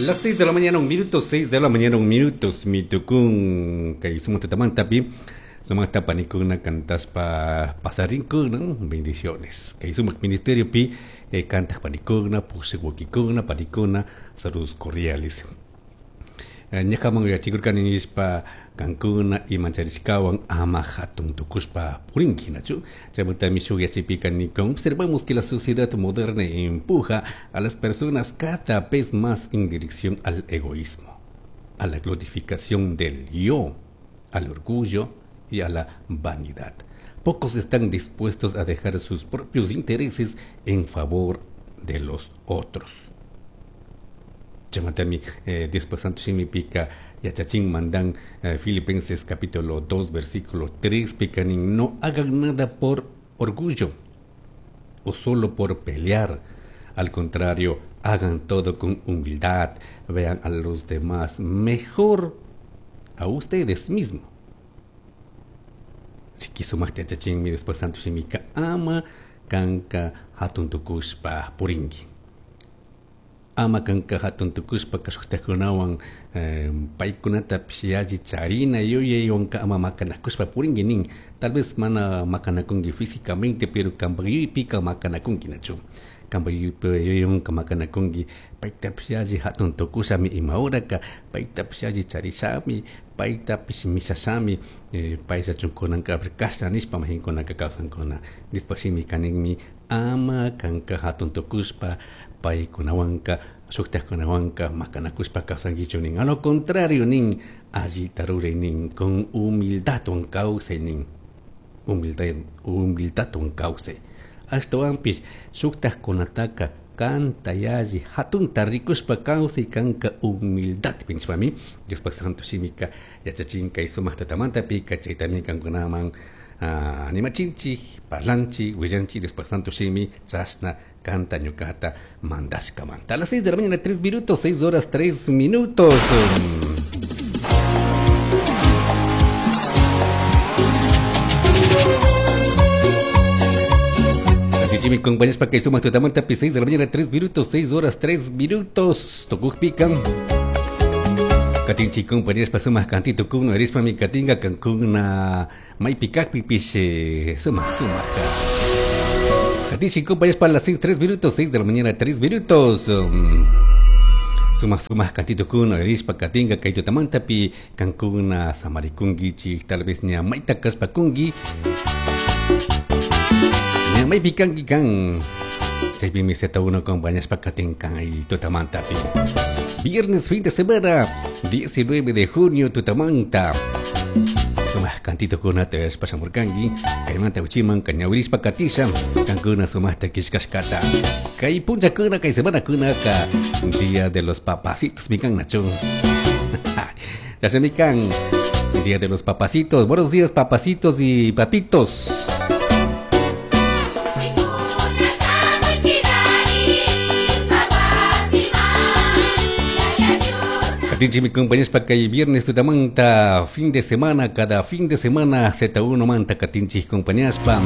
Las 6 de la mañana, un minuto, 6 de la mañana, un minuto, mitukun kay sumatamantapi, sumata panikuna cantaspa pasarinkuna, bendiciones. Kay sumak ministerio pi cantas panikuna, pushikukikuna, panikuna, saludos cordiales. Ñakaman yachikurkani nishpa kankuna imancharishkawan ama hatun tukushpa purinki nachu. Chaymantami shuk yachaypika nikun observamos que la sociedad moderna empuja a las personas cada vez más en dirección al egoísmo, a la glorificación del yo, al orgullo y a la vanidad. Pocos están dispuestos a dejar sus propios intereses en favor de los otros. Chamatami Diospa Santo Shimipika yachachin mandan Filipenses capítulo 2 versículo 3 picanin no hagan nada por orgullo o solo por pelear. Al contrario, hagan todo con humildad, vean a los demás mejor a ustedes mismos. Chiquisumakta yachachinmi Diospa Santo Shimika ama kanka hatun tukushpa purinki. Ama kanka hatun tukushpa kashuktakunawan paykunatapish yalli charina yuyaywanka ama makanakushpa purinki nin. Tal vez mana makanakunki físicamente, pero kanpak yuyaypika makanakunki nachu. Kanpak yuyaywanka makanakunki paytapish yalli hatun tukushami ima horaka, paytapish yalli charishami, paytapish mishashami, payllachunkunanka kashna nishpa mahinkunaka kawsankuna. Diospa shimika ninmi ama kanka hatun tukushpa paykunawanka shuktajkunawanka makanakushpa kawsankichu nin. A lo contrario nin, allita ruray nin, con humildadwan kawsay nin. Humildad, humildadwan kawsay. Ashtawanpish shuktajkunataka kanta yalli hatunta rikushpa kawsay kanka humildad pinchpami Diospa Santo Shimika yachachin kay sumaq tatamantapika chaytami kankunaman animachinchik, parlanchik, willanchik Diospa Santo Shimi chashna canta ñucata mandashkamanta. A las 6 de la mañana, 3 minutos, 6 horas 3 minutos. Así mi compañeros para que sumas tutamanta, 6 de la mañana, 3 minutos, 6 horas 3 minutos. Tocuj pican. Katinchi compañeros pasumas cantito kuno erispa mi katinga cancuna maipikakpi piche suma suma. Katinchi compañeros para las 6, 3 minutos, 6 de la mañana, 3 minutos. Suma suma cantito kuno erispa katinga kaitotamantapi cancuna samarikungichi tal vez ña maita kaspa kungi. Ña maipikanki kan. Chaypimi Z1 compañeros pa katinkan y tutamantapi. Viernes fin de semana, 19 de junio, Tutamanta. Sumas cantito kunata pashamurkanki, kaymanta uchiman kañawirispa katisha, kankuna sumasta kishkashkata. Kay puncha kuna, kay semana kunaka, día de los papacitos, mikan nacho. Ya se mikan, día de los papacitos. Buenos días, papacitos y papitos. Katinchi mi compañeros para que viernes tutamanta, fin de semana, cada fin de semana Z1 manta katinchi compañeros pa.